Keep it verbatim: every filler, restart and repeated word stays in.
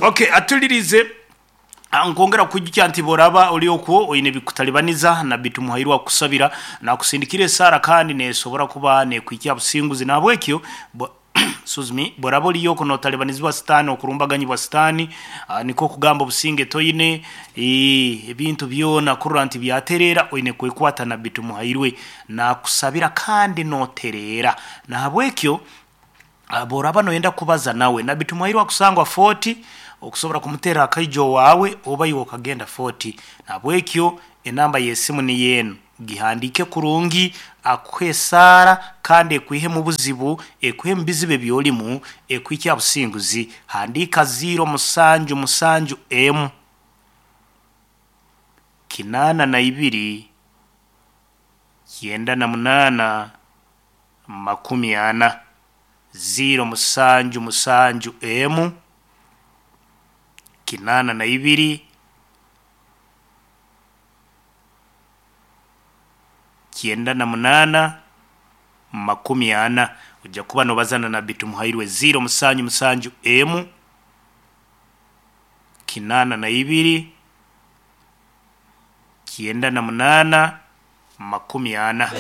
Okay, atulirize. Ah, nkwongera kujukya nti boraba oli okwo oine bikutalibaniza na bitumuhairwa kusabira nakusindikira esara kandi nesobora kuba nekwikia businguzi nabwekyo bo- excuse me, boraba oliyo okwo notalibanizibwa sitaani, okurumbaganyibwa sitaani, ah, niko kugamba obusinge toine, eh, ebintu byona kurora nti byaterera, oine kwekwata na bitumuhairwe nakusabira kandi noterera. Nahabwekyo ah, boraba noyenda kubaza nawe nabbi Tumuhairwe akusangwa Fort, okusobora kumutera akaijo wawe oba iwe okagenda Fort. Nahabwekyo enamba y'esimu niyo enu, gihandiike kurungi, akuhe esaara kandi ekwihe mu buzibu, ekwihe mu bizibu ebyolimu, ekuhikye aha businguzi. Handiika ziro musanju musanju emu kinaana na ibiri kyenda na munaana makumi ana, ziro musanju musanju emu kinaana na ibiri kyenda na munaana makumi ana. Ojja kuba nobazana na Nabbi Tumuhairwe, ziro musanju musanju emu kinaana na ibiri kyenda na munaana makumi ana.